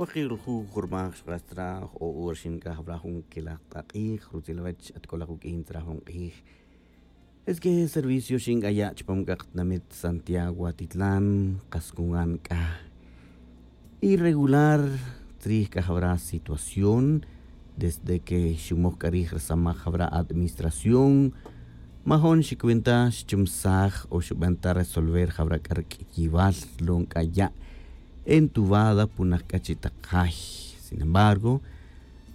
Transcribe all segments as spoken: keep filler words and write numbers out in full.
Wajil juj jurmaj xq'ax tzra' jo'o hora xin k'a jawra jun kelaj t'aq'ij rutzil awech at k'olaj wuk'in tzra' jun q'ij. Es que servicio xin k'a ya' chupam k'a qatinamit Santiago Atitlán qas kungan k'a irregular tzrij k'a jawra situación. Desde que xumoj k'a rij rasamaj jawra administración, majon xicuenta xchumsaj o xuben ta resolver jawra k'a rk'iyibal lon k'a ya' entubada punaj k'a chi' taq jay. Sin embargo,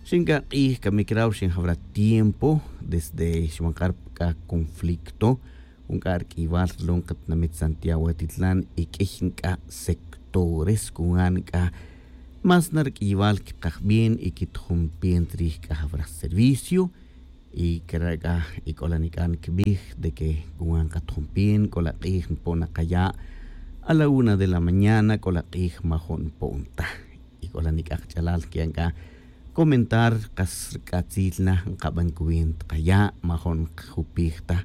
xin k'a q'ij kamic raw xin jawra tiempo desde xman k'a rk'a conflicto jun k'a rk'iyibal lon qatinamit Santiago Atitlán y q'uiy nk'a' sectores kungan nk'a' más na rk'iyibal kikaj bien y kitijun bien tzrij k'a jawra servicio. Y kara' k'a y k'ola nik'a' nkibij de que kungan katijun bien k'ola q'ij npo'on na qaya' a la una de la mañana k'ola q'ij majo' npo'on ta. Y k'ola nik'a' qach'alal nki'an k'a comentar qas rk'atzil na nkaben cuenta qaya' majo' nkajupij ta.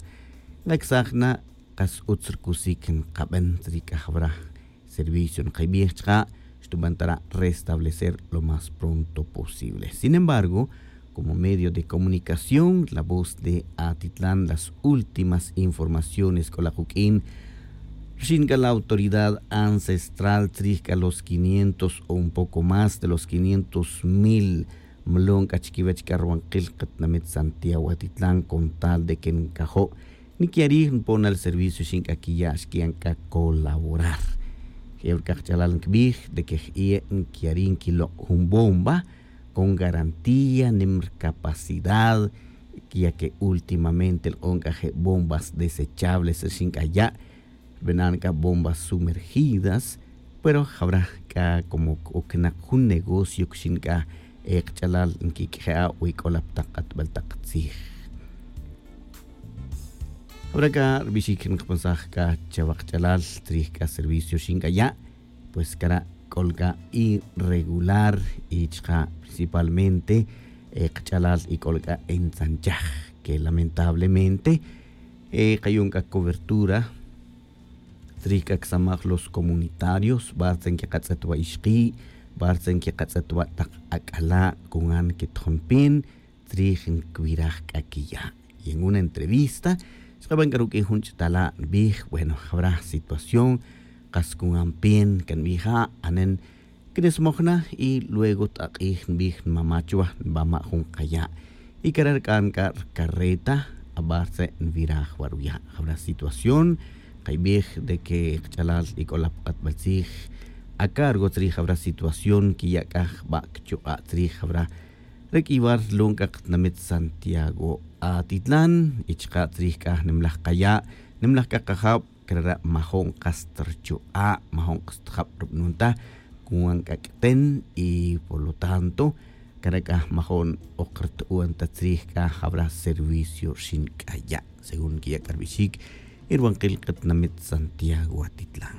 Nkacsaj na qas utz rcusic nkaben tzri' c'a jawra servicio nkibij chka' xtuben ta ra' restablecer lo más pronto posible. Sin embargo, como medio de comunicación la voz de Atitlán las últimas informaciones k'ola kuq'uin rxin c'a la autoridad ancestral tzrij c'a los quinientos o un poco más de los quinientos mil mlon c'a chiquiwech c'a rubankil katinamit Santiago Atitlán con tal de que ncajo' niquiya' rij npon na li servicio xin c'a quiya' xquiya' c'a colaborar. Je' wi c'a kach'alal nkibij de que je' niquiya' rij nquilok' jun bomba con garantía nim rcapacidad ya que últimamente lk'on c'a je' bombas desechables rixin c'a ya' rbenan c'a bombas sumergidas. Pero jawra c'a como c'ucnak jun negocio cuxin c'a e kach'alal nquiq'ueja' wi c'o la pa tak k'atbel tak tzij. Jawra c'a rbixic nkapensaj c'a chawa kach'alal tzrij c'a servicio rixin c'a ya'. Pues cara' c'o la c'a irregular y chka' principalmente e kach'alal y c'o la c'a entzanchaj que lamentablemente e kayon c'a cobertura tzrij c'a csamaj los comunitarios bartza nquiqatz'et wa ixki' bartza nquiqatz'et wa tak ac'ala' cungan quitijun pin tzrij nquibiraj c'a quiya'. Y en una entrevista xkaben c'a ruq'uin jun ch'atala' nbij bueno jawra situación kas cungan pin can nbij ja' anen cresmoj na y luego t'ak'ij nbij nmama' chuwa nbama' jun kaya'. Y cara' rc'an c'a rcarreta abar tze' nviraj wa ruya' jawra situación. Kaybij de que kach'alal y c'o la pa katbel tzij acargo tzrij jawra situación quiya' c'a jba' cchuk'a' tzrij jawra raq'uiybal lon c'a katinamit Santiago Atitlán y chka' tzrij c'a nimlaj kaya' nimlaj c'a kajab. Cara' majo'n kas ta rchu'a' majo'n kas ta jab rub'anon ta. Cuan c'a q'uiten y por lo tanto cara' c'a majo'n ok rtu'un ta tzrij c'a jawra servicio rxin c'a ya' según quiya' c'a rbixic y rubankil katinamit Santiago Atitlán.